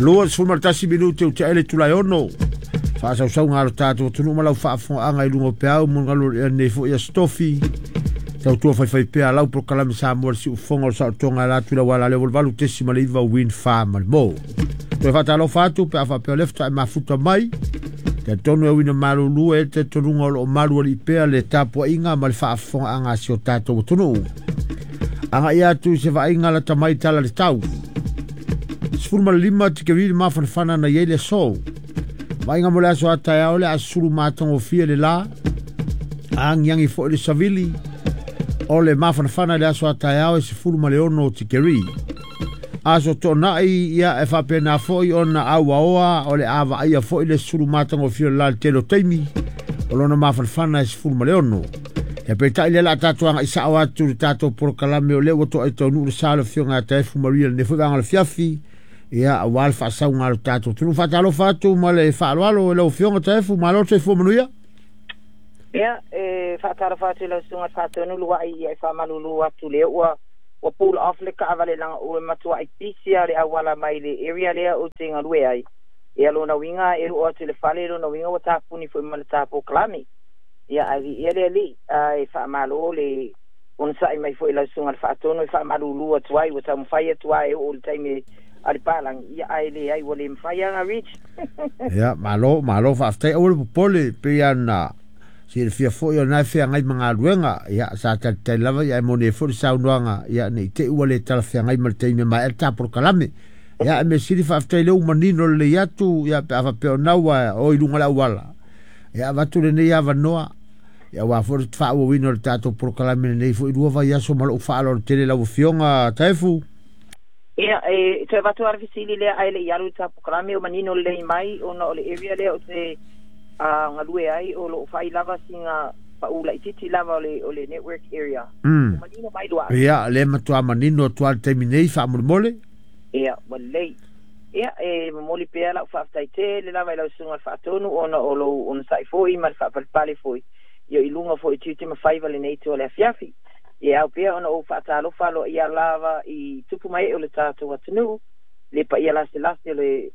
21 minute o te ele tulai ono. Faasausauga a lo tatou atunuu ma lau faafofogaaga i luga o peau mo galu nei foi Aso Tofi. Tautua faifaipea lau polokalame Samoa le siufofoga o le saolotoga e ala atu i le auala lea 88.9 Wind Farm ma le Mo. Toe faatalofa atu pe a faapea o lea faatoa e mafuta mai. Talitonu e uina malulu e le talitonuga o lo o malu alii pea le tapuaiga ma le faafofogaaga a si o tatou atunuu. Agai atu i se vaaiga lata mai tala le tau. 15 tikeri le mafanafana na i ai le aso. Vaaiga mo le aso a taeao le a sulu matagofie le la. Agiagi foi le savili. O le mafanafana i le aso a taeao e 16 tikeri. Aso toonai ia e faapena foi ona auaoa o le a vaaia foi le sulu matagofie o le la le tele o taimi. O lona mafanafana e 16. Ia peitai lea la tatou agai sao atu le tatou polokalame o lea ua toai taunuu le sa o le afioga ia Taefu Maria lenei foi vaega o le afiafi. Ia aua le faasauga a le tatou atunuu. Faatalofa atu ma le faaaloalo i lau afioga Taefu, malo le soifua manuia. Ia, e faatalofa atu i lau susuga i le Faatonu Luai, ia e faamalulu atu lea ua ua pull off le taavale leaga ua matuai pisi lava le auala mai le area lea ou te galue ai. Ia lona uiga e oo atu i le fale lona uiga ua tapuni foi ma le ta polokalame. Ia ae viia le Alii, ae faamalo le onosai mai foi i lau susuga i le Faatonu e faamalulu atu ai ua taumafai atu lava e oo i le taimi a le palagi, ia ae leai ua le mafai lava ona reach. Ia, malo, malo faafetai. Aua le popole, pei lava ona silafia foi o lena e feagai ma galuega. Ia, sa talitali lava, ia e moni ai foi le saunoaga, ia ne i te i ua le talafeagai ma le taimi e maea le ta polokalame. Ia, ae mea sili faafetai lea ua manino lelei atu, ia pe a faapea o lena ua o i luga o le auala. Ia, avatu lenei avanoa, ia aua foi le faaauauina o le tatou polokalame lenei foi lua vaiaso ma lou faaaloalo tele lau Afioga Taefu. Ia, e toe avatu lava le fesili lea ae le i alu i le ta polokalame, o manino lelei mai ona o le area lea ou te galue ai o lo o fai lava sina pau laitiiti lava o le network area. Ua manino mai Luai? Ia, o lea e matua manino atu lava i le taimi nei, faamolemole. Ia, ua lelei. Ia, e momoli pea lau faafetai tele lava i lau Susuga i le Faatonu ona o lou onosai foi ma le faapalepale foi ia i luga foi o tiute ma faiva lenei itu o le afiafi. Ia e ao pea ona ou faatalofa aloaia lava i tupu ma ee o le tatou atunuu, le paia laselase o le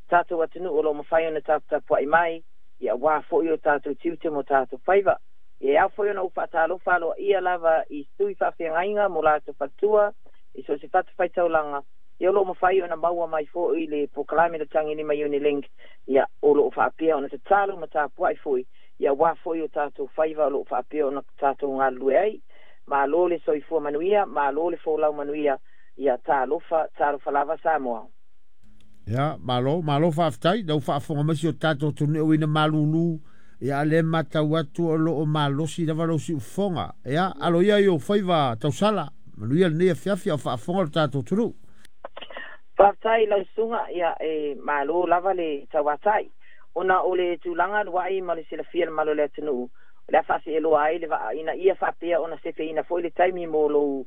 tatou atunuu o lo o mafai ona taputapuai mai, ia aua foi o tatou tiute ma o tatou faiva. Ia e ao foi ona ou faatalofa aloaia lava i sui faafeagaiga mo latou faletua i so o se fatafaitaulaga, ia o lo o mafai ona maua mai foi le polokalame le Tagilima Unilink, ia o lo o faapea ona tatalo ma tapuai foi, ia aua foi o tatou faiva o lo o faapea ona tatou galulue ai. Malo le soifua manuia, malo le folau manuia, ia talofa, talofa lava Samoa. Ia, malo, malo faafetai, lau faafofoga mai si o tatou atunuu ina malulu, ia a lea e matau atu o lo o malosi lava lou siufofoga. Ia, alo ia i ou faiva tausala, manuia lenei afiafi a o faafofoga lo tatou atunuu. Faafetai i lau susuga, ia e malo lava le tauatai. Ona o le tulaga aluai ma le silafia e le mamalu o le atunuu, o le a faaseeloa ai le vaa ina ia faapea ona sefeina foi le taimi mo lou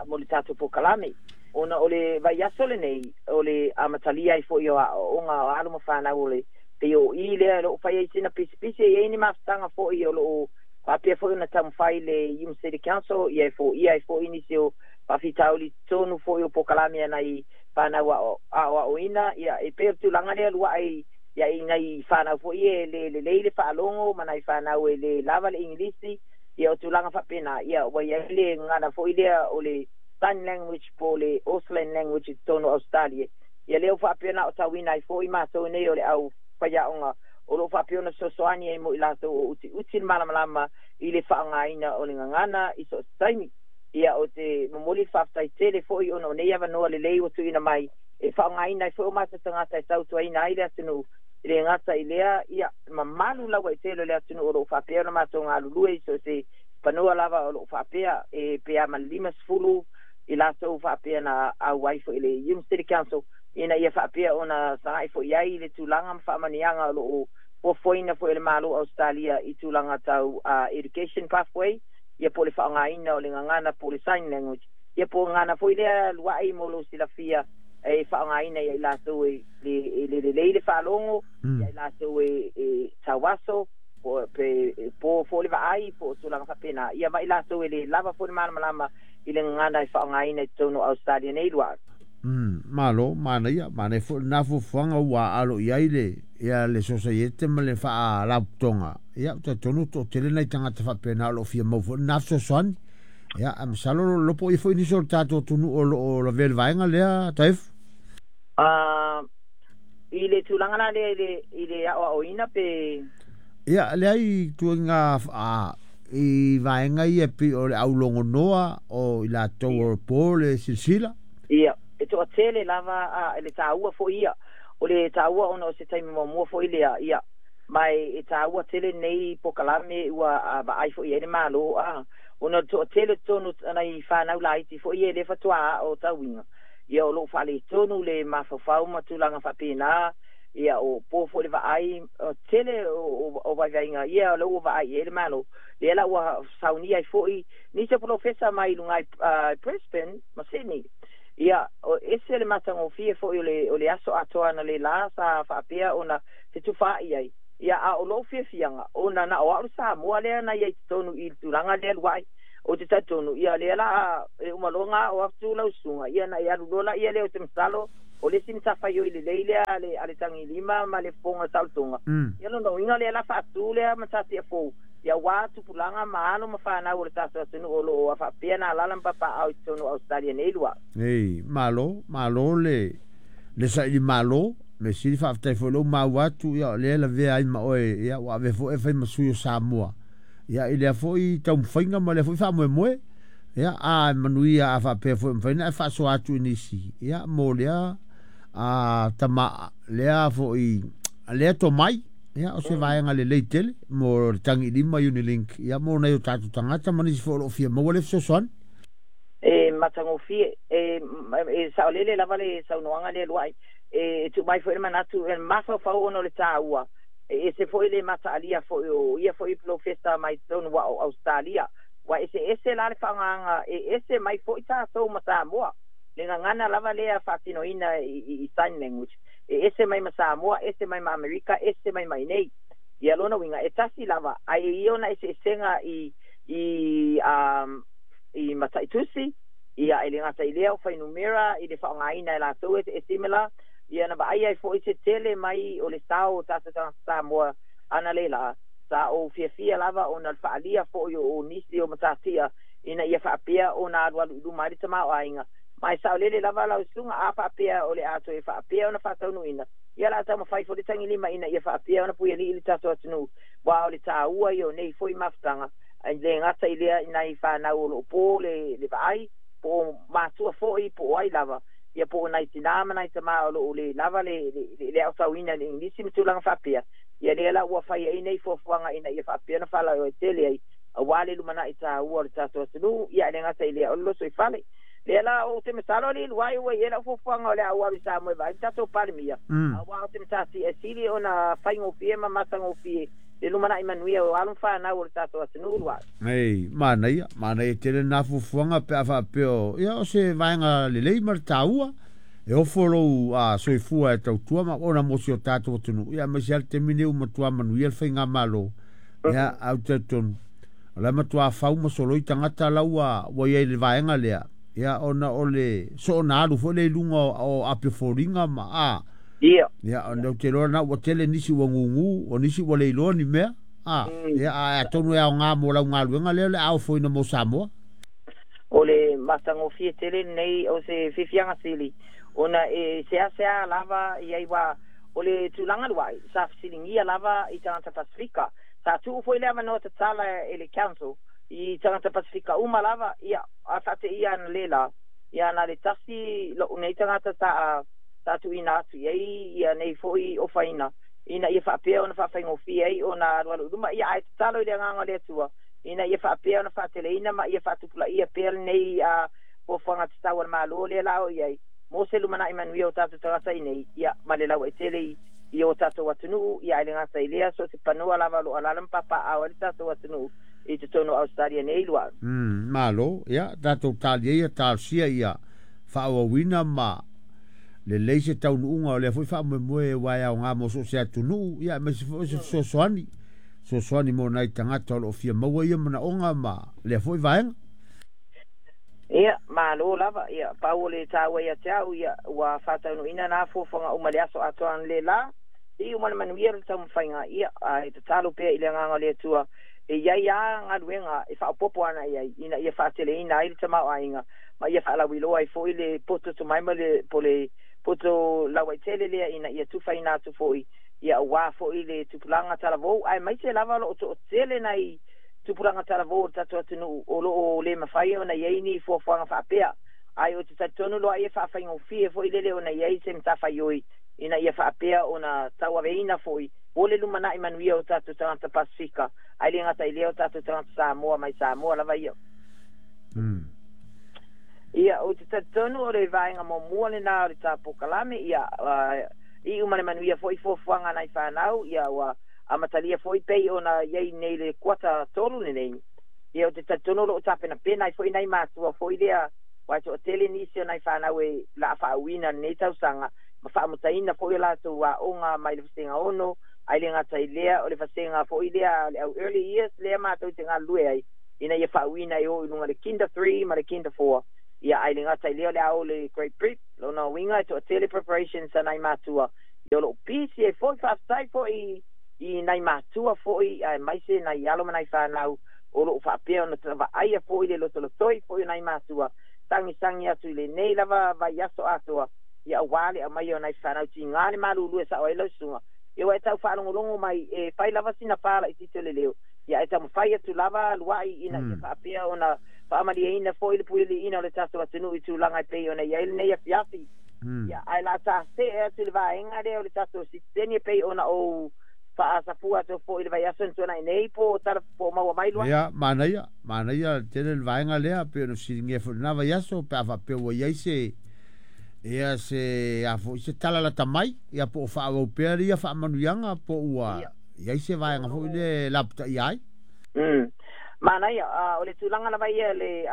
mo le tatou polokalame. Ona o le vaiaso lenei, o le amatalia ai foi o aoaoga o alo ma fanau o le POE lea o lo o fai ai sina pisipisi, e i ai ni mafutaga foi o lo o faapea foi ona taumafai le Hume City Council ia e foia ai foi nisi o faafitauli totonu foi o polokalame a nai fanau aoaoina, ia e pei o le tulaga lea luai ia i nai fanau foi e le lelei le faalogo ma nai fanau e le lava le Igilisi, ia o tulaga faapena, ia ua i ai le gagana foi lea o le sign language po o le Auslan language i totonu o Ausetalia. Ia lea ua faapea ona aotauina ai foi matou nei o le au faiaoga o lo o faapea ona fesoasoani ai mo i latou o utiuti le malamalama i le faaaogaina o le gagana i so o se taimi. Ia, ou te momoli le faafetai tele foi ona o nei avanoa lelei ua tuuina mai e faaaogaina ai foi o matou tagata e tautuaina ai le atunuu. E le gata i lea, ia, mamalu lauaitele o le atunuu o lo o faapea ona matou galulue i so o se fanua lava o lo o faapea e pe a ma le 50 i latou faapea na auai foi i le Hume City Council ina ia faapea ona sagai foi i ai i le tulaga ma faamanuiaga o lo o fuafuaina foi e le Malo o Ausetalia i tulaga tau education pathway, ia po o le faaaogaina o le gagana po o le sign language, ia po o gagana foi lea lua'i mo lou silafia e faaaogaina ia i latou e le lelei le faalogo, ia i latou e tauaso, po pe po foi le vaai, po o tulaga faapena, ia ma i latou e le lava foi le malamalama i le gagana e faaaogaina i totonu o Ausetalia nei lua'i. Malo, manaia, manaia foi lena fuafuaga ua alo i ai le ia le sosaiete ma le faalapotopotoga. Ia, ou te talitonu toatele nai tagata faapena o lo o fia maua foi lena fesoasoani. Ia, ae masalo o lo o ia foi nisi o le tatou atunuu o lo o lavea i le vaega lea, Taefu. I le tulaga la lea i le aoaoina pe? Ia, leai ituaiga i vaega ia e pei o le aulogonoa o i latou o po le silasila. Ia, e toatele lava le taua foi ia. O le taua ona o se taimi muamua foi lea, ia, ma e taua tele nei polokalame ua vaai foi i ai le Malo, ona o le toatele totonu nai fanau laiti foi ia e le faatoa aotauina, ia o loo faaletonu le mafaufau ma tulaga faapena, ia o po foi le vaai, tele o vaivaiga ia o lea ua vaai i ai le Malo. Lea la ua saunia ai foi nisi o polofesa mai luga i Brisbane ma Sydney. Ia, o ese le matagofie foi o le aso atoa na le la sa faapea ona fetufaai ai. Ia, a o lou fiafiaga ona na o au le Samoa lea na i ai totonu i le tulaga lea luai. O te talitonu, ia lea la e uma loa o atu lau susuga, ia na i alu loa la ia lea o te masalo o le isi matafaioi lelei lea a le tagilima ma le fofoga saolotoga. Ia lona uiga lea la faatu lea matatia fou, ia ua tupulaga ma alo ma fanau o le tatou atunuu o loo faapea na alaala ma papaao i totonu o Australia nei lua. Ei, malo, malo le saili malo, me sili faafetai foi lou maua atu, ia o lea lavea ai ma oe, ia ua ave foi e fai ma sui o Samoa. Ia i lea foi taumafaiga ma lea foi faamoemoe. Ia a manuia a faapea foi mafai ona e faasoa atu i nisi. Ia mo lea tama lea foi lea tomai. Ia o se vaega lelei tele mo le tagilima Unilink. Ia mo nai o tatou tagata ma nisi foi o lo o fia maua le fesoasoani. E matagofie, e saolele lava le saunoaga lea luai. E tuu mai foi le manatu e mafaufau ona o le taua. E ese foi le mataalia foi o ia foi polofesa mai totonu o Australia. Ua ese ese la le faaaogaga e ese mai foi tatou ma Samoa. Le gagana lava lea faatinoina i sign language. E ese mai ma Samoa, ese mai ma Amerika, ese mai ma inei. Ia lona uiga e tasi lava, ae ia ona eseesega i mataitusi, ia e le gata i lea o fuainumera i le faaaogaina e latou e similar. Ia na vaai ai foi se tele mai o le sao o tatou tagata Samoa ana le la, sa ou fiafia lava ona le faalia foi o nisi o matatia ina ia faapea ona alualu i luma ai le tamaoaiga. Ma e saolele lava lau susuga a faapea o le a toe faapea ona faataunuuina. Ia la taumafai foi le tagilima ina ia faapea ona puialii le tatou atunuu. Ua o le taua ia o nei foi mafutaga, ai le gata i lea i nai fanau o loo po le vaai, po o matua foi po o ai lava. Ia po o nai tinā ma nai tamā o loo le lava le aotauina i le Igilisi ma tulaga faapea. Ia lea la ua fai ai nei fuafuaga ina ia faapea ona faalauaitele ai aua le lumanai taua o le tatou atunuu. Ia e le gata i lea o le loso i fale. Lea la ou te masalo le luai ua i ai lau fuafuaga o le a ou alu i Samoa e vaai le tatou Palemia. Aua o te matati e sili ona faigofie ma matagofie le lumanai manuia o alo ma fanau o le tatou atunuu luai. Ei, manaia, manaia tele na fuafuaga pe a faapea ia o se vaega lelei ma le taua. E ofo lou soifua e tautua ma ona mo si o tatou atunuu. Ia aemaise lava le taimi nei ua matua manuia le faigamalo. Ia au talitonu o la e matua fau ma soloi tagata la ua i ai i le vaega lea. Ia ona o le soona alu foi lea i luga o api o foliga ma a. Ia. Ia ona ou te iloa na ua tele nisi ua gugu, o nisi ua le iloa ni mea. Ia ae atonu e aoga mo lau galuega lea o le a ofoina mo Samoa. O le matagofie tele lenei o se fiafiaga sili ona e seasea lava i ai ua o le tulaga luai sa fesiligia lava i tagata Pasifika. Sa tuu foi le avanoa tatala e le council i tagata Pasifika uma lava, ia a faateia ana le la, ia na le tasi lou nei tagata sa tuuina atu i ai ia nei foi ofaina ina ia faapea ona faafaigofie ai ona alualu i luma. Ia ae tatalo i le agaga o le Atua ina ia faapea ona faateleina ma ia faatupulaia pea lenei fuafuaga tatau a le Malo lea la o i ai mo se lumanai manuia o tatou tagata i nei, ia ma le lauaitele i o tatou atunuu. Ia ae le gata i lea so o se panoa lava o loo alaala ma papaao ai le tatou atunuu i totonu o Australia nei lua. Malo, ia tatou talia ia talosia ia faaauauina ma lelei se taunuuga o lea foi faamoemoe aua e aoga mo so o se atunuu, ia aemaise foi o se fesoasoani mo nai tagata o lo o fia maua ia manaoga ma lea foi vaega. Ia, malo lava, ia, pau o le taua ia te au, ia, ua faataunuuina na fuafuaga uma i le aso atoa analeila, iu ma le manuia le taumafaiga, ia, ae tatalo pea i le agaga o le Atua e i ai lava galuega e faaopoopo ana i ai, ina ia faateleina ai le tamaoaiga, ma ia faalauiloa ai foi le poto tomai ma le po le poto lauaitele lea ina ia tufaina atu foi, ia aua foi le tupulaga talavou, aemaise lava o lo o toatele nai tupulaga talavou o le tatou atunuu o lo o le mafai ona i ai ni fuafuaga faapea. Ae ou te talitonu loa ia e faafaigofie foi lele ona i ai se matafaioi ina ia faapea ona tauaveina foi mo le lumanai manuia o tatou tagata Pasefika, ae le gata i lea o tatou tagata Samoa mai Samoa lava ia. Ia, ou te talitonu o le vaega muamua lena o le ta polokalame, ia, iu ma le manuia foi fuafuaga a nai fanau, ia, ua amatalia foi pei ona i ai nei le kuata 3 lenei. Ia, ou te talitonu o lo o tapenapena ai foi nai matua foi lea, aua e toatele nisi o nai fanau e laa faauuina lenei tausaga, ma faamutaina foi o latou aoga mai le vasega 6, ae le gata i lea, o le vasega foi lea o le au early years lea matou te galulue ai, ina ia faauuina e o i luga le Kinder 3 ma le Kinder 4. Ia, ae le gata i lea o le a o le Grade Prep, lona uiga e toatele preparations a nai matua, ia o lo o busy ai foi, faafetai foi i nai matua foi, aemaise nai alo ma nai fanau o lo o faapea ona vaaia foi le lotolotoi foi o nai matua, sagisagi atu i lenei lava vaiaso atoa, ia aua le aumaia o nai fanau tiga le malulu e sao ai lau susuga. Ia ua e tau faalogologo mai e fai lava sina pa laitiiti o le leo, ia ae taumafai atu lava luai ina ia faapea ona faamalieina foi le puialiiina o le tatou atunuu i tulaga e pei ona i ai lenei afiafi. Ia, ae la ta see atu i le vaega lea o le tatou sitiseni e pei ona ou faasafua atu foi i le vaiaso na tuanai nei po o tala po o maua mai luai. Ia, manaia, manaia tele le vaega lea, pei ona fesiligia foi i lena vaiaso, pe a faapea ua i ai se, ia se, a foi se tala lata mai, ia po o faaauau pea ia faamanuiaga, po ua i ai se vaega foi lea e lapataia ai. Manaia, o le tulaga lava ia le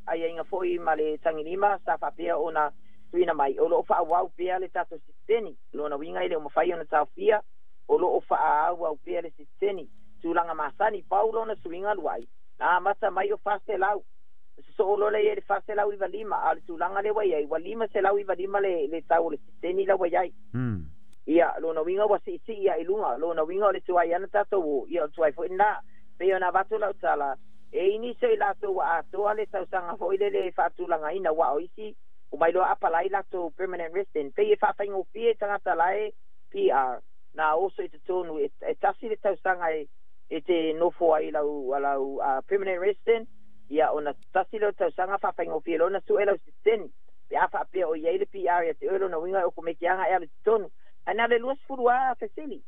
aiaiga foi ma le tagilima sa faapea ona tuuina mai, o lo o faaauau pea le tatou sitiseni. Lona uiga e le o mafai ona taofia, o lo o faaauau pea le sitiseni. Tulaga masani, pau lona suiga luai, na amata mai o 400, sosoo loa lea i ai le 495, a o le tulaga lea ua i ai, ua 595 le tau o le sitiseni la ua i ai. Ia, lona uiga ua siisii lava i luga, lona uiga o le tuai lava na tatou o, ia o le tuai foi lena. Pei ona avatu lau tala, e i ai nisi o i latou ua atoa le tausaga foi lele e faatulagaina, aua o isi ua mailoa apalai latou permanent resident, pei e faafaigofie i tagata la e PR, na oso i totonu e tasi le tausaga e te nofo ai lau lau permanent resident, ia ona tasi lea o tausaga faafaigofie loa ona sue lau sitiseni. Pe a faapea o i ai le PR ia te oe, lona uiga e okomeki lava e alu i totonu. Ae na o le 20 lava fesili.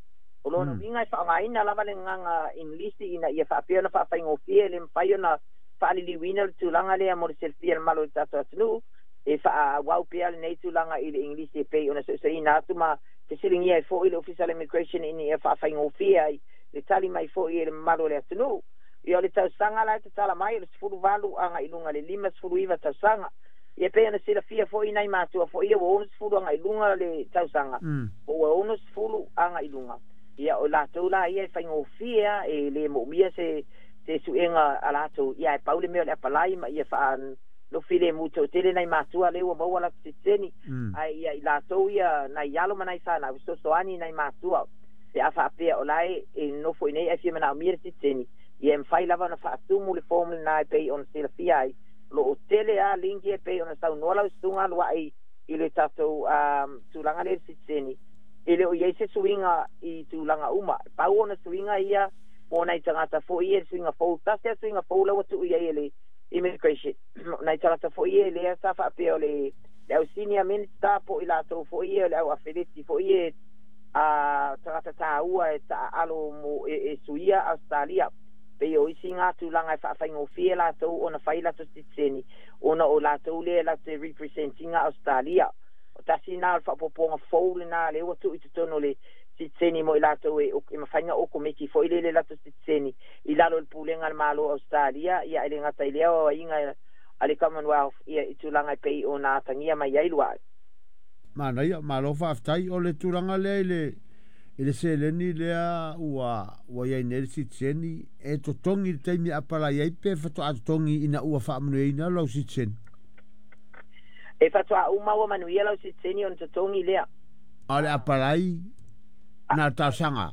O lona uiga e faaaogaina lava le agaga Englisi ina ia faapea ona faafaigofie, e le mafai ona faaliliuina le tulaga lea mo le silafia e le mamalu o le tatou atunuu, e faaauau pea lenei tulaga i le Englisi e pei ona suesueina atu ma fesiligia ai foi le Ofisa o le Immigration ina ia faafaigofie ai le tali mai foi e le mamalu o le atunuu. Ia o le tausaga la e tatala mai o le 18 agai i luga i le 59 tausaga. Ia pei ona silafia foi nai matua foi ia ua 60 agai i luga le tausaga, po ua 60 agai i luga. Ia o latou la ia e faigofie lava, e le moomia se suega a latou, ia ae pau le mea o le apalai ma ia faanofi lemu toatele nai matua lea ua maua latou sitiseni. Ae ia i latou ia nai alo ma nai fanau e fesoasoani nai matua pe a faapea o la e nofo i inei ae fia manaomia le sitiseni, ia e mafai lava ona faatumu le form lena e pei ona silafia ai. O lo o tele lava link ia e pei ona saunoa lau susuga aluai i le tatou tulaga lea i le sitiseni, e le o i ai se suiga i tulaga uma. Pau ona suiga ia mo nai tagata foi ia, le suiga fou, tasi lava suiga fou la ua tuu i ai e le immigration, nai tagata foi ia lea sa faapea o le au senior minister po o i latou foi ia o le au afeleti foi ia a tagata taua e taaalo mo e suia Ausetalia. Pei o isi ngā tulaga e faafaigofie latou ona fai latou sitiseni, ona o latou lea latou te represent ina Ausetalia. O tasi lena o le faaopoopoga fou lena lea ua tuu i totonu o le sitiseni mo i latou e mafai ona okomeki foi lele latou sitiseni i lalo o le pulega a le Malo o Ausetalia, ia ae le gata i lea o aiaiga a le Commonwealth ia i tulaga e pei ona atagia mai ai luae. Manaia, malo faafetai. O le tulaga lea i le i le seleni lea ua i ai nei le sitiseni, e totogi i le taimi e apalai ai pe faatoa totogi ina ua faamanuiaina lau sitiseni? E faatoa uma ua manuia lau sitiseni ona totogi lea. A o le apalai na o le talosaga.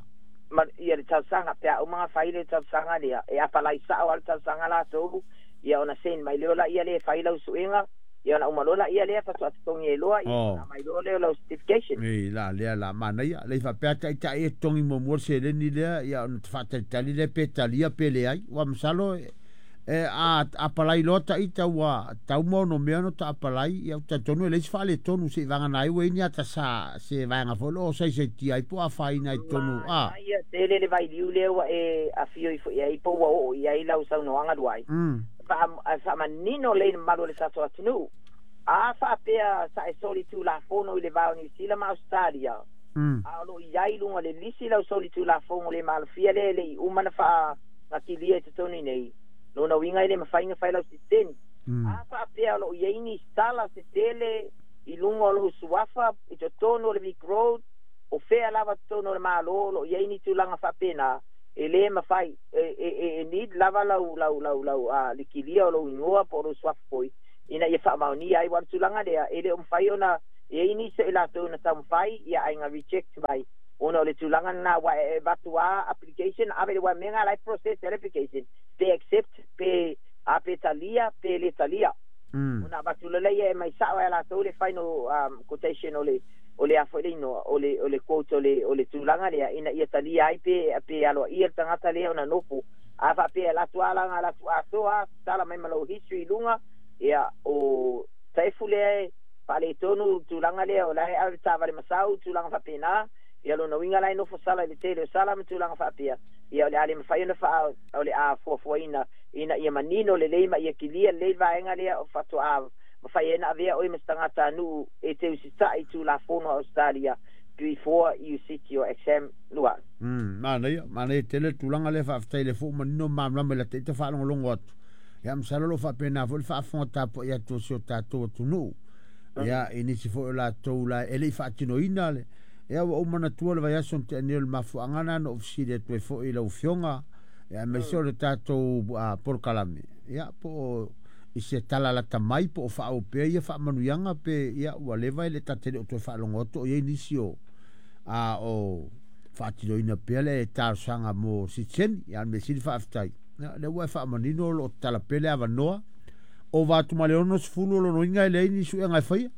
Ma, ia le talosaga, pe a uma ona fai le talosaga lea, e apalai sao lava le talosaga latou, ia ona send mai lea laia lea e fai lau suega, ia ona uma loa laia lea faatoa totogi ai loa, ia ona aumai loa lea o lau certification. Ei, la lea la manaia. Lei faapea taitai e totogi muamua le seleni lea, ia ona faatalitali lea pe talia pe leai. Ua masalo e a apalai loa taita ua tau ma ono mea no ta apalai, ia talitonu e leai se faaletonu seivagana ai ua i ai ni ata sa se vaega foi loo saisaitia ai po o afaina i totonu a. Manaia tele le vailiu lea ua e afio ifo i ai po ua oo i ai lau saunoaga luai. Faamanino lelei le mamalu o le tatou atunuu. A faapea sa e soli Tulafono i le va o Niu Sila ma Ausetalia, a o lo o i ai i luga o le lisi lau soli Tulafono le malofia lea e le i uma ona faagatilia i totonu i nei, lona uiga e le mafai ona fai lau sitiseni. A faapea o lo o i ai ni sala se tele i luga o lou suafa i totonu o le Vic Road, o fea lava totonu o le Malo o lo o i ai ni tulaga faapena, e le mafai, e need lava lau lau lau lau le kilia o lou igoa po o lou suafa foi ina ia faamaonia ai. Aua o le tulaga lea e le o mafai ona e i ai nisi o i latou na taumafai ia ae na reject mai ona o le tulaga lena aua e avatu lava application ave i le uamega la e process ai le application pe accept pe a pe talia pe le talia. Ona avatu loa lea e aumai sao e latou le final quotation o le o le a foi le igoa o le o le quote o le o le tulaga lea ina ia talia ai pe pe aloaia le tagata lea ona nofo. A faapea e alu atu lava la ona alu atu atoa lava tala mai ma lou history i luga ia o taefu lea e faaletonu tulaga lea o la e ave taavale masau tulaga faapena. Ia lona uiga la e nofo sala i le tele o sala ma tulaga faapea, ia o le a le mafai ona faa o le a fuafuaina ina ia manino lelei ma ia kilia lelei le vaega lea o faatoa mafai ai ona avea oe ma se tagatanuu e te usitai i Tulafono a Ausetalia before you sit your exam lua. Manaia, manaia tele le tulaga lea, faafetai i le fou manino ma malamalama i la ita faalogologo atu. Ia masalo o lo o faapena foi le faafofoga tapuai atu o si o tatou atunuu. Ia, i nisi foi o latou la e le i faatinoina le ia ua ou manatua le vaiaso na tea nei o le mafuaaga lena na ou fesili atu ai foi i lau Afioga, ia aemaise o le tatou polokalame, ia po o i se tala lata mai po o faaauau pea ia faamanuiaga pe ia ua leva e le ta te le o toe faalogo atu o i ai nisi o a o faatinoina pea le talosaga mo sitiseni. Ia, a o le mea sili faafetai, ia, lea ua e faamanino o lo o tatala pea le avanoa. Ova atu ma le 60 o lona uiga e leai ni suega e faia.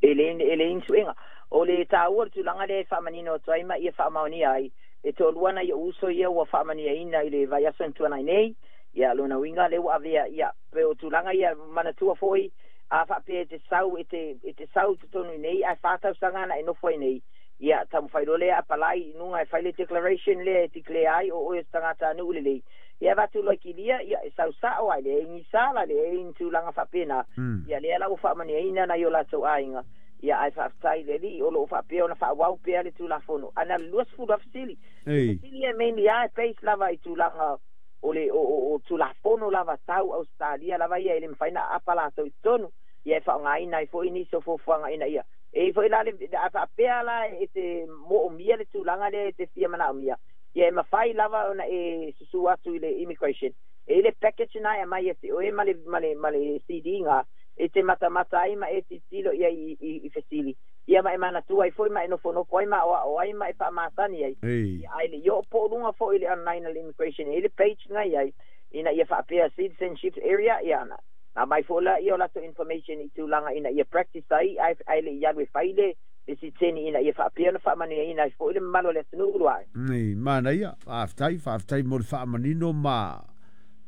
E leai ni suega. O le taua o le tulaga lea e faamanino atu ai ma ia faamaonia ai, e toalua nai ou uso ia ua faamaniaina i le vaiaso na tuanai nei, ia lona uiga lea ua avea, ia, pei o tulaga ia manatua foi, a faapea e te sau, e te, e te sau i totonu i nei, ae 4 tausaga ana e nofo ai nei, ia taumafai loa lea apalai i luga e fai le declaration lea e declare ai o oe o se tagatanuu lelei, ia avatu loa i kilia, ia e sau sao ai, leai ni sala, leai ni tulaga faapena, ia lea la ua faamaniaina nai o latou aiga. Ia ae faafetai i le Alii o lo o faapea ona faaauau pea le Tulafono. Ae na o le 20 lava fesili. Fesili e mainly lava e base lava i tulaga o le o Tulafono lava tau Ausetalia lava ia e le mafai ona aapa latou i totonu. Ia e faaaogaina ai foi nisi o fuafuaga ina ia e i ai foi la le a faapea la e te moomia le tulaga lea e te fia manaomia, ia e mafai lava ona e susu atu i le immigration. E i ai le package na e aumai ia te oe ma le CD ga e te matamata ai ma e tilotilo i ai i fesili. Ia ma e manatua ai foi ma e nofonofo ai ma aoao ai ma e faamasani ai. Ia ae le i oo po o luga foi i le online a le immigration, e i ai le page na i ai ina ia faapea citizenship area, ia na aumai foi laia o latou information i tulaga ina ia practice ai ae le i alu e fai le sitiseni ina ia faapea ona faamanuiaina ai foi le mamalu o le atunuu luae. Nei, manaia, faafetai, faafetai mo le faamanino ma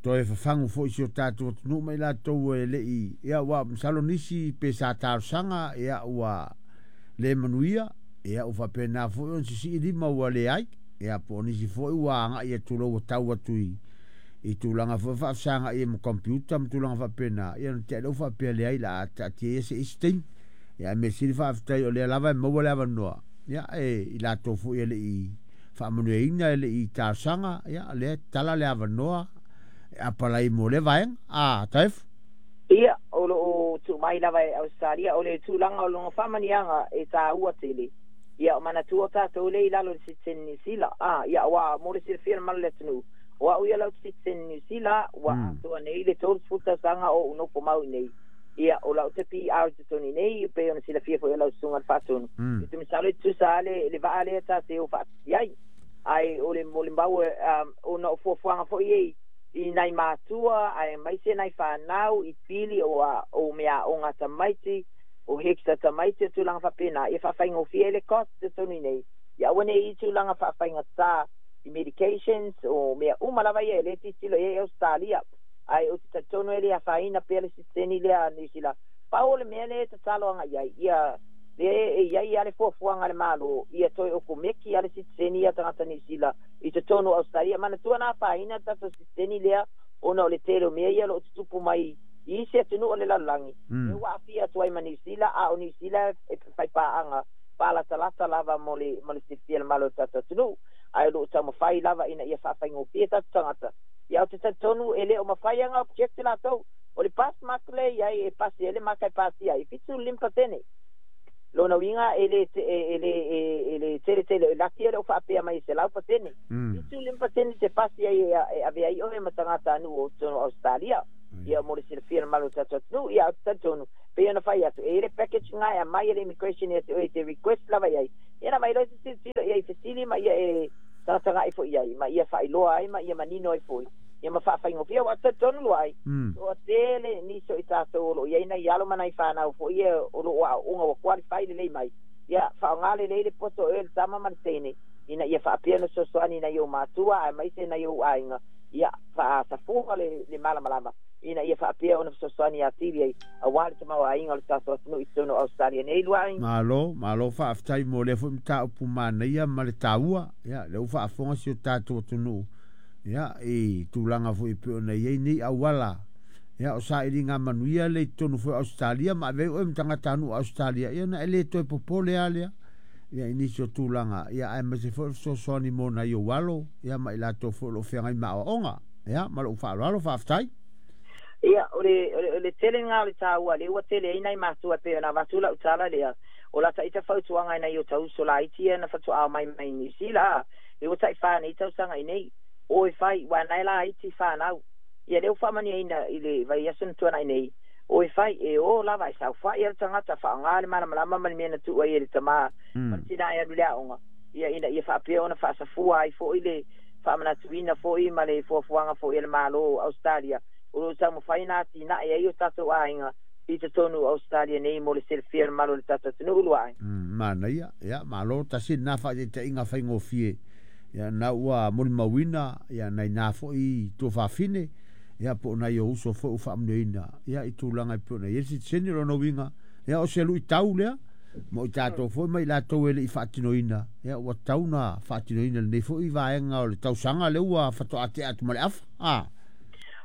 toe fafagu foi i si o tatou atunuu ma i latou e le i, ia ua masalo nisi pe sa talosaga, ia ua le manuia, ia ua faapena foi ona sisii lima ua leai, ia po o nisi foi ua agai atu loa ua tau atu i tulaga foi faafesagai ma computer ma tulaga faapena, ia ona tea lea ua faapea leai la a taatia ia se isi taimi. Ia ae mea sili faafetai o lea lava e maua le avanoa, ia e i latou foi e le i faamanuiaina e le i talosaga, ia lea e tatala le avanoa e apalai mo lea vaega. A, Taefu? Ia, o lo o tuu mai lava e Ausetalia, o le tulaga o lona faamaniaga e taua tele. Ia, o manatua tatou lea i lalo o le sitiseni Niu Sila. A, ia, aua mo le silafia e le mamalu o le atunuu, o au ia lau sitiseni Niu Sila, ua atoa nei le 30 tausaga o ou nofo mau i nei. Ia o lau te PR te toni nei pe ona silafia foi lau susuga le faatonu. E te masalo e tusa le vaa lea ta te o faatasi ai. Ai o le molimau ona o fuafuaga foi ei i nai matua ae maise nai whanau i pili o mea o ngā tamaiti o hekta tamaiti o tūlanga whapena ia whawhaingofia le cost te toni nei. Ia aua nei i tūlanga whawhaingatā i medications o mea uma lava ia e le titilo ia e Australia. Ai o te tatono e lea whaina pea le siteni lea New Zealand. Pau o le mea le tatalo anga iai ia le e iai ale fuafuaga le Malo ia toe o komeki ale siteni ia tagata New Zealand i totonu o Australia. Manatua na afaina le tatou siteni lea ona o le tele o mea ia o loo tutupu mai i isi atunuu o le lalolagi. E ua aafia atu ai ma New Zealand, a o New Zealand e faipaaga paalatalata lava mo le silafia le malo o le tatou atunuu. Ae o loo taumafai lava ina ia faafaigofie tatou tagata. Ia o te talitonu e le o mafai aga object latou. O le pass mark le iai e pasi ai le maka e pasia ai 75%. Lona uiga e le tele tele o laki e le o faapea mai e 100%. 75% te pasi ai e ave ai oe ma tagata anu o totonu o Australia. Ia mo le silafia le malo o tatou atunuu. Ia o te talitonu pei ona fai atu e le package nga e aumai e le immigration ia te oe te request lava iai. Ia na mai loa se tilotilo ia i fesili ma ia e tagatagai foi iai ma ia faailoa ai ma ia manino ai foi. Ia ma faafaigofie ua talitonu lua ai. O tele nisi o i tatou o loo iai nai alo ma nai whanau foi ia o loo aooga ua qualify lelei mai. Ia faaaoga lelei le poto o le tama ma le teine ina ia faapea ona fesoasoani nai ou matua aemaise nai ou aiga. Ia faasafua le malamalama ina ia faapea ona fesoasoani atili ai auā le tamaoaiga o le tatou atunuu i totonu o Australia nei lua ai. Malo, malo faafetai mo lea foi mataupu manaia ma le taua. Ia lea ua faafofoga si o tatou atunuu ia i tulaga foi pei ona iai nei auala. Ia o sailiga manuia le i totonu foi o Australia ma ave ai oe ma tagata anu o Australia. Ia na e le toe popole lava lea. Ia i nisi o tulaga ia aemaise foi o le fesoasoani mo nai ou alo ia ma i latou foi o loo feagai ma aoaoga. Ia ma lou faaaloalo faafetai. Ia o le tele nga o le taua lea ua tele ai nai matua e pei ona avatu lau tala lea. O lata ita fautuaga i nai o tauso laiti ia na fatoa mai mai New Zealand. E ua taʻi nei tausaga i nei. O e fai ua nai laiti whanau. Ia lea ua faamanuiaina i le vaiaso na tuanai nei. O e fai e o lava e saofai le tagata faaaoga le malamalama ma le mea na tuu ai e le tamā ma le tina e alu le aoga. Ia ina ia faapea ona faasafua ai foi le faamanatuina foi ma le fuafuaga foi e le Malo o Australia. O loo taumafai na atinae ai o tatou aiga i totonu o Australia nei mo le silafia le malo o le tatou atunuu lua ai. Manaia, ia malo tasi lena faataitaiga faigofie. Ia na ua molimauina ia nai na foi tuafafine ia po o nai o uso foi ua faamanuiaina ia i tulaga e pei ona i ai le sitiseni. O lona uiga ia o se luitau lea mo i tatou foi ma i latou e le i faatinoina. Ia ua tau na faatinoina lenei foi vaega o le tausaga lea ua faatoa tea atu ma le afa.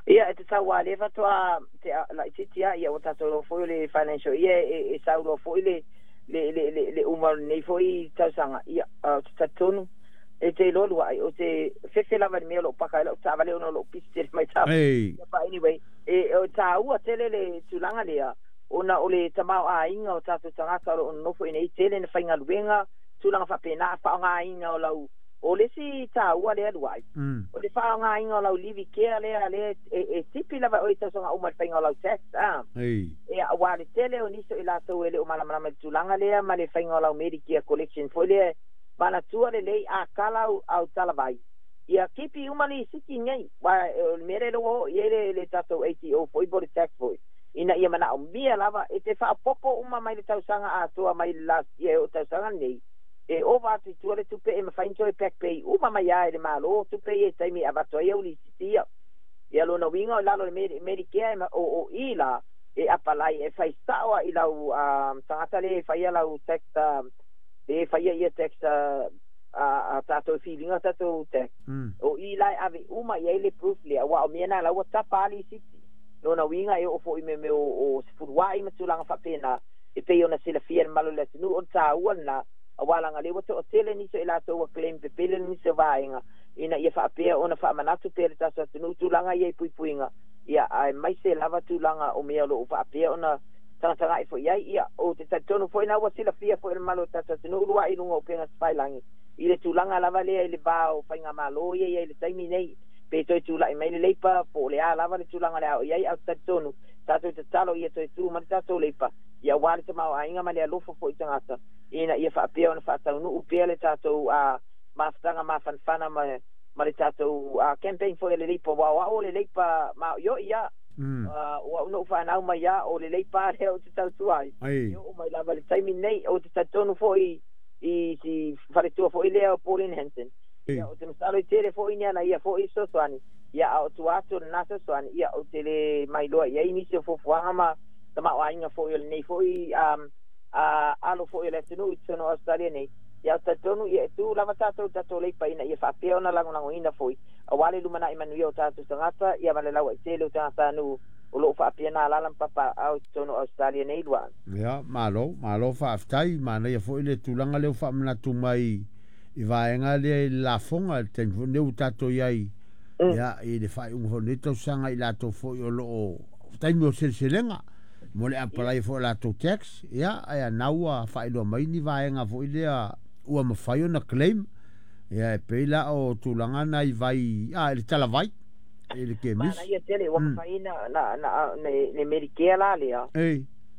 Ia e tatau lava lea faatoa te laitiiti a ia ua tatou iloa foi o le financial ia e sauloa foi le uma o lenei foi tausaga. Ia o te talitonu e te iloa lua ai o te fefe lava i le mea o loo paka ai lau taavale ona o loo pisi tele mai taavale. Ei. But anyway e o taua tele le tulaga lea ona o le tamaoaiga o tatou tagata o loo nonofo i nei tele na faigaluega tulaga faapena faaaogaina o lau o le isi taua lea lua ai. O le faaaogaina o lau livi kea lea lea e tipi lava oe i tausaga uma i le faiga o lau tax a. Ei. E auā le tele o nisi o i latou e le o malamalama i le tulaga lea ma le faiga o lau Medicare collection foi lea manatua lelei a kala au talavai. Ia kipi uma lisiti nei. Wa o le mea lea ua oo i ai le tatou ATO foi po o le tax foi. Ina ia manaomia lava e te faaopoopo uma mai le tausaga atoa mai le last year e oo tausaga nei. E ova atu i tua le tupe e mafai ona toe back pay uma mai lava e le Malo tupe ia i taimi e avatu ai au lisiti ia. Ia lona uiga o lalo o le Medicare o i la e apalai e fai sao i lau tagata le e faia lau tax le e faia ia tax a tatou filiga tatou tax. O i la e ave uma i ai le proof lea aua o mea na la ua tapa a lisiti. Lona uiga e oo foi i mea o sefuluai ma tulaga faapena e pei ona silafia le malo o le atunuu o le taua lena auā laga lea ua toatele nisi o i latou ua claim pepele nisi o vaega ina ia faapea ona faamanatu pea le tatou atunuu tulaga ia i puipuiga. Ia aemaise lava tulaga o mea o loo faapea ona tagatagai foi ai. Ia o te talitonu foi na ua silafia foi e le mamalu o le tatou atunuu luaʻi i luga o upega tafailagi i le tulaga lava lea i le va o faigamalo ia ia i le taimi nei pe toe tulaʻi mai le Labour po o le a lava le tulaga o le a oo i ai. Ae ou te talitonu Tatou tatalo ia toe tu mai le tatou Leipa, ia auā le tamaoaiga ma le alofa foi i tagata, ina ia faapea ona faataunuu pea le tatou mafutaga mafanafana ma le tatou campaign foi a le Leipa, aua o au o le Leipa maoioi a. O au na ou fanau mai a o le Leipa lea ou te tautua ai. E oo mai lava i le taimi lenei, ou te talitonu foi i si faletua foi lea o Pauline Hanson. Ia, ou te masalo i tele foi ni ana ia foi fesoasoani, ia, a o tua atu o lena fesoasoani, ia, ou te le mailoa i ai nisi o fuafuaga ma tamaoaiga foi o lenei foi alo foi o le atunuu i totonu o Ausetalia nei. Ia, ou te talitonu, ia, e tu lava tatou i le tatou Leipa ina ia faapea ona lagolagoina foi auā le lumanai manuia o tatou tagata, ia, ma le lauaitele o tagatanuu o lo o faapea na alaala ma papaaao i totonu o Ausetalia nei lua. Ia, malo, malo faafetai, manaia foi le tulaga lea ua faamanatu mai i vaega lea i le lafoga i le taimi foi lenei ua tatou i ai, ia, i le faaiuga foi o lenei tausaga i latou foi o lo o taimi o seleselega mo le apalai foi o latou tax, ia, ae na ua faailoa mai ni vaega foi lea ua mafai ona claim, ia, e pei la o tulaga na i vai, i le talavai, i le kemisi. Manaia tele, ua mafai na le Medicare la lea.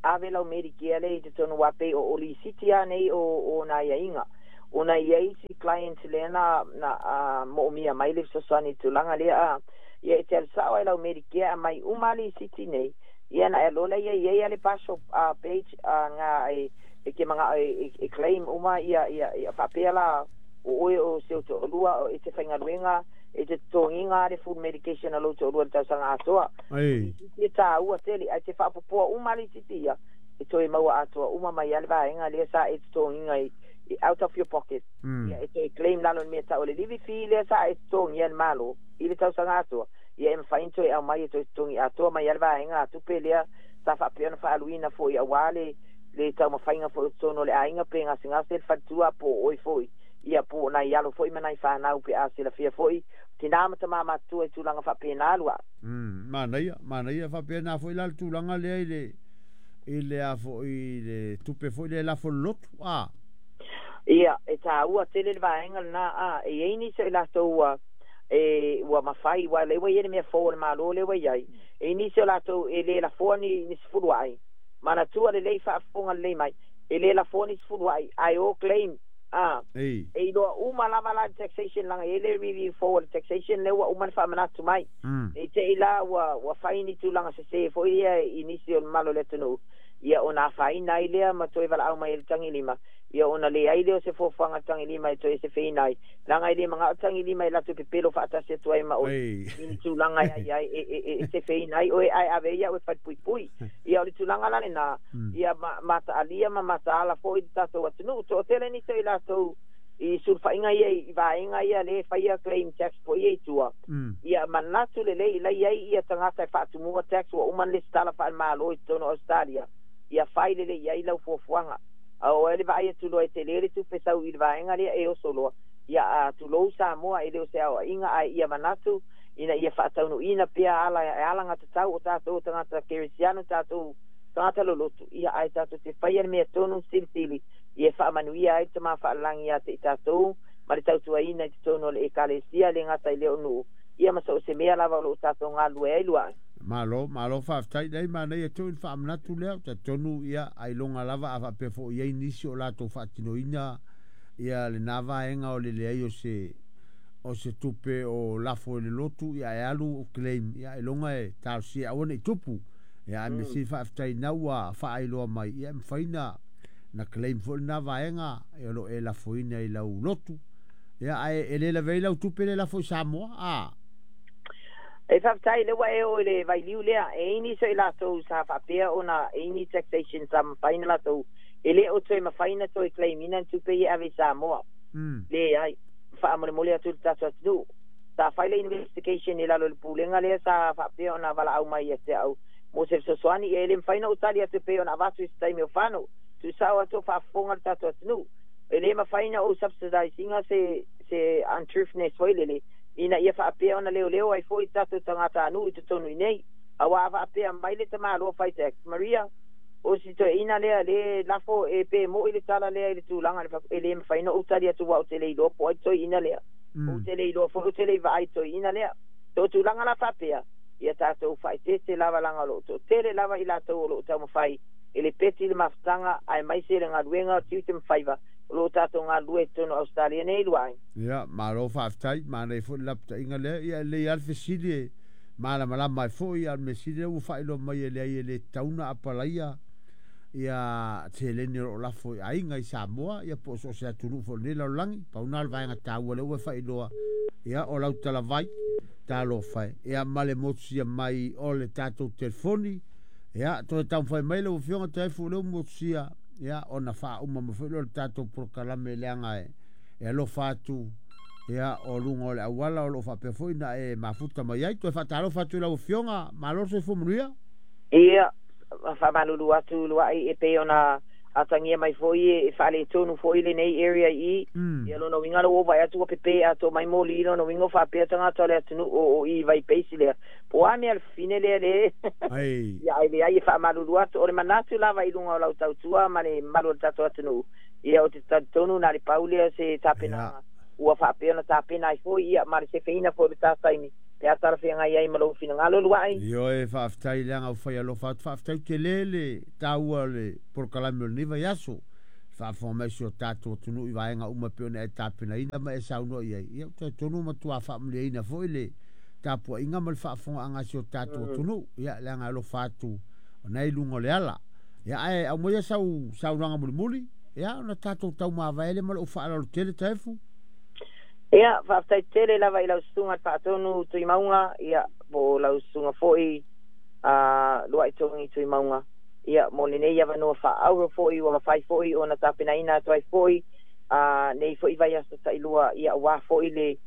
Ave lau Medicare lea i totonu aua pei o lisiti lava nei o nai aiaiga. Ona i ai isi clients lea na moomia mai le fesoasoani i le tulaga lea. Ia e te alu sao ai lau Medicare aumai uma lisiti nei. Ia na e lola ia i ai le partial page nga e ke manga e claim uma ia ia faapea la o oe o se o toalua o e te faigaluega e te totogiga le full medication a lou toalua i le tausaga atoa. Lisiti e tāua tele ae te faapopoa uma lisiti ia e toe maua atoa uma mai ai le vaega lea sa e totogiga i out of your pocket. Ia e toe claim lalo i le mea tau o le levy fee lea sa e totogia e le Malo i le tausaga atoa. Ia e mafai ona toe aumai e toe totogi atoa mai ai le vaega a tupe lea sa faapea ona faaaluina foi auā le taumafaiga foi o totonu o le aiga pe gasegase le faletua po o oe foi, ia po o nai alo foi ma nai fanau pe a silafia foi tinā ma tamā matutua i tulaga faapena lua. Manaia, manaia faapena foi la le tulaga lea i le a foi i le tupe foi lea e lafo i le lotu, a. Ia, e tāua tele le vaega lena a e i ai nisi o i latou ua e ua mafai ua lea ua i ai le mea fou a le Malo lea ua i ai e i nisi o latou e le lafoa ni sefuluai manatua lelei faafofoga lelei mai e le lafoa ni sefuluai ae o claim a e iloa uma lava la le taxation laga i ai le review fou a le taxation lea ua uma ona faamanatu mai e te i la ua fai ni tulaga sesē foi ia i nisi o le mamalu o le atunuu, ia ona afaina ai lea ma toe valaau mai ai le tagilima, ia ona leai lea o se fuafuaga tagilima e toe sefeina ai laga e le magao tagilima e latou pepelo faatasi atu ai ma oe i ni tulaga e ai ai e sefeina ai oe ae ave ai au e falepuipui. Ia o le tulaga la lenā, ia mataalia ma mataala foi le tatou atunuu toatele nisi o i latou i sulufaiga ia i vaega ia lea e faia claim tax foi ia i tua. Ia manatu lelei la i ai ia tagata e faatumua tax ua uma ona lesitala faale-Malo i totonu o Ausetalia, ia fai lelei i ai lau fuafuaga. A o ai le vaai atu loa e tele le tupe sau i le vaega lea e oso loa, ia a tulou Samoa e le o se aoaiga ae ia manatu ina ia faataunuuina pea ala e alagatatau o tatou tagata kerisiano tatou tagata lolotu, ia ae tatou te faia le mea tonu silisili ia faamanuia ai le Tama Faalelagi ia te i tatou ma le tautuaina i totonu o le Ekalesia le gata i lea o nuu, ia ma so o se mea lava o lo o tatou galulue ai lua. Malo, malo faafetai leai manaia tonu le faamanatu lea, talitonu ia ailoga lava a faapea foi i ai nisi o latou faatinoina ia lena vaega o le leai o se tupe o lafo i le lotu ia e alu claim ia ailoga e talosia aua nei tupu. Ia ae mea sili faafetai na ua faailoa mai ia e mafai na claim foi lena vaega e o lo o e lafoina i lau lotu. Ia ae e le lavea ai lau tupe le lafo i Samoa a. E faafetai lea ua e oo i le vailiu lea e i ai nisi o i latou sa faapea ona e i ai ni taxation sa mafai ona latou e le o toe mafai ona toe claim ina ni tupe ia e ave i Samoa. Leai, faamolemole atu i le tatou atunuu. Sa fai le investigation i lalo o le pulega lea sa faapea ona valaau mai ia te au mo se fesoasoani ia e le mafai ona ou tali atu e pei ona avatu i se taimi o fano. Tuusao atu o faafofoga le tatou atunuu. E le mafai ona ou subsidise ina se untruthfulness foi lele ina ia faapea ona leoleo ai foi tatou tagatanuu i totonu i nei. Auā a faapea mai le tamaloa fai tax Maria o si toeaina lea le lafo e pe mo'i le tala lea i le tulaga e le mafai ona ou tali atu aua ou te le iloa po o ai toeaina lea. Ou te le iloa foi ou te le i vaai i toeaina lea. So o tulaga la faapea Ia tatou faaeteete lava laga o loo toatele lava i latou o loo taumafai e le peti le mafutaga aemaise le galuega o tiute ma faiva o loo tatou galulue i totonu o Ausetalia nei luaai. Ia, malo faafetai, manaia foi le lapataiga lea. Ia, e lelei lava le fesili e malamalama ai foi, a o le mea sili lea ua faailoa mai e leai e le tatau ona apalaia ia seleni o lo o lafo i aiga i Samoa, ia po o so o se atunuu foi o lenei lalolagi. Pau lena o le vaega taua lea ua e faailoa, ia o lau talavai, talofa e. Ia ma le motusia mai o le tatou telefoni, ia toe taumafai mai lau Afioga Taefu lea ua motusia, ia ona faauma mai foi lea o le tatou polokalame leaga e alofa atu ia o luga o le auala o lo o faapea foi ona e mafuta mai ai. Toe faatalofa atu i lau Afioga, malo le soifua manuia. Ia, faamalulu atu lua'i e pei ona atagia mai foi e faaletonu foi lenei area i i. Ia lona uiga lea ua ou vaai atu ua pepe atoa mai moli, lona uiga ua faapea tagata o le atunuu o i vai base lea, po o a mea le fafine lea le ia ae leai e faamalulu atu. O le manatu lava i luga o lau tautua ma le mamalu o le tatou atunuu, ia ou te talitonu na o le pau lea o se tapenaga ua faapea ona tapena ai foi ia ma le sefeina foi o le ta taimi pe a talafeagai ai ma lou finagalo lua'i. Ioe, faafetai leaga ua fai alofa atu, faafetai tele le taua o le polokalame o lenei vaiaso. Faafofoga mai si o tatou atunuu i vaega uma e pei ona e tapenaina ma e saunoa i ai, ia ou te talitonu ua matua faamalieina foi le tapuaiga ma le faafofogaaga a si o tatou atunuu, ia leaga e alofa atu o na e i luga o le ala. Ia ae aumaia sau saunoaga mulimuli, ia ona tatou taumavae lea ma lou faaaloalo tele Taefu. Ia, faafetai tele lava i lau susuga le Faatonu Tuimauga, ia, po o lau susuga foi Luai Togi Tuimauga, ia, mo lenei avanoa faaauro foi ua mafai foi ona tapenaina atu ai foi nei foi vaiaso tailua, ia, aua foi le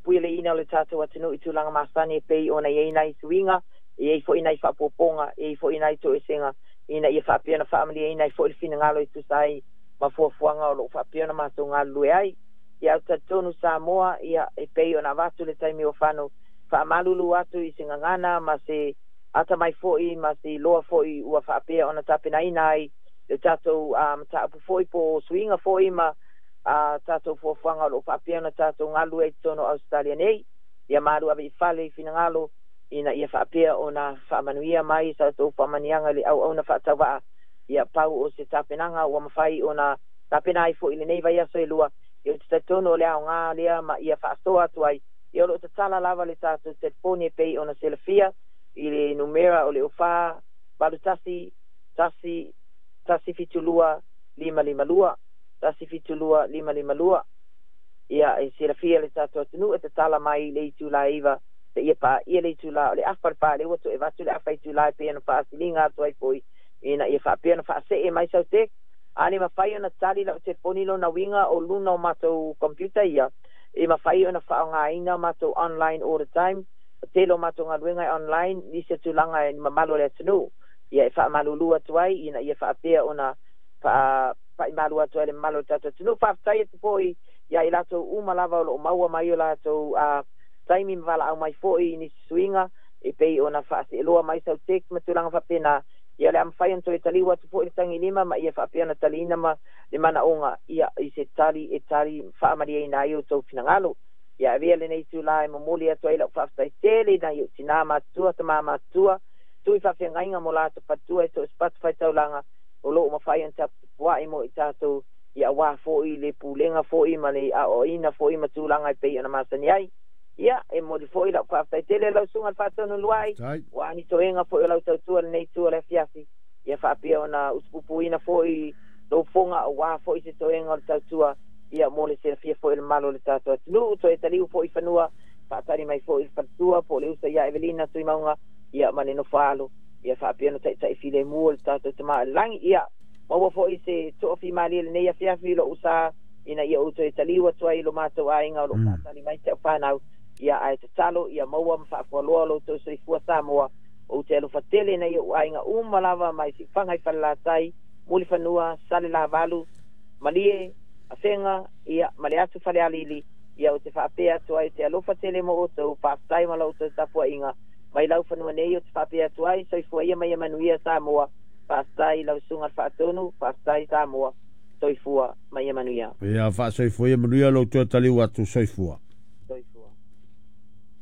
puialeina o le tatou atunuu i tulaga masani e pei ona i ai nai suiga, e i ai foi nai faaopoopoga, e i ai foi nai toesega, ina ia faapea ona faamalieina ai foi le finagalo e tusa ai ma fuafuaga o lo o faapea ona matou galulue ai. Ia, ou te talitonu Samoa, ia, e pei ona avatu le taimi ua fano, faamalulu atu i se gagana ma se atamai foi ma se iloa foi ua faapea ona tapenaina ai le tatou mataupu foi po o suiga foi ma tatou fuafuaga o lo o faapea ona tatou galulue ai i totonu o Ausetalia nei. Ia malu ave i fale i finagalo ina ia faapea ona faamanuia mai sa outou faamanuiaga i le auauna faatauvaa. Ia pau o se tapenaga ua mafai ona tapena ai foi i lenei vaiaso e lua. Ia ou te talitonu o le aoga lea ma ia faasoa atu ai. Ia o lo o tatala lava le tatou telefoni e pei ona silafia i le numera o le 04 81 1 172 552 172 552. Ia e silafia le tatou atunuu e tatala mai i le itula e 9 seia paia le itula o le afa le pa lea ua toe avatu le afa itula e pei ona faasiliga atu ai foi ina ia faapea ona faasee mai sau text. A le mafai ona tali lau telefoni lona uiga o luna o matou computer ia e mafai ona faaaogaina matou online all the time. O tele o matou galuega e online, nisi o tulaga e mamalu o le atunuu ia e faamalulu atu ai ina ia faapea ona faapa'imalu atu ai le mamalu o le tatou atunuu. Faafetai atu foi ia i latou uma lava o loo maua mai o latou taimi ma valaau mai foi i nisi suiga e pei ona faaseeloa mai sau text ma tulaga faapena. Ia o le a mafai ona toe taliu atu foi le tagilima ma ia faapea ona taliina ma le manaoga ia i se tali e tali faamalieina ai outou finagalo. Ia avea lenei itulā e momoli atu ai lau faafetai tele i nai ou tinā matutua, tamā matutua, tui faafeagaiga mo latou faletua e so o se fatafaitaulaga o loo mafai ona tapua'i mo i tatou ia aua foi le pulega foi ma le aoaoina foi ma tulaga e pei ona masani ai. Ia, e momoli foi lau faafetai tele i lau susuga i le Faatonu Luai, ua ni toega foi o lau tautua i lenei itu o le afiafi, ia faapea ona utupupuina foi lou fofoga aua foi se toega o le tautua, ia mo le silafia foi e le mamalu o le tatou atunuu. Toe taliu foi i fanua, faatali mai foi i le faletua po o le uso ia Evelina Tuimauga, ia ma le nofo alo, ia faapea ona taitai filemu o le tatou Tama i le Lagi. Ia maua foi se toafimalie i lenei afiafi i lou sa, ina ia ou toe taliu atu ai i lo matou aiga o lo o faatali mai si au fanau. Ia ae tatalo ia maua ma faafualoa lo outou soifua Samoa. Ou te alofa tele nai ou aiga uma lava mai Siufaga i Falelatai, Mulifanua, Salelavalu, Malie, Afega, ia ma le atu Falealili. Ia ou te faapea atu ai, ou te alofa tele mo outou, faafetai ma la outou tapuaiga mai lau fanua nei. Ou te faapea atu ai, soifua ia ma ia manuia Samoa. Faafetai i lau susuga i le Faatonu, faafetai Samoa, soifua ma ia manuia. Ia faasoifua ia manuia lou toe taliu atu, soifua.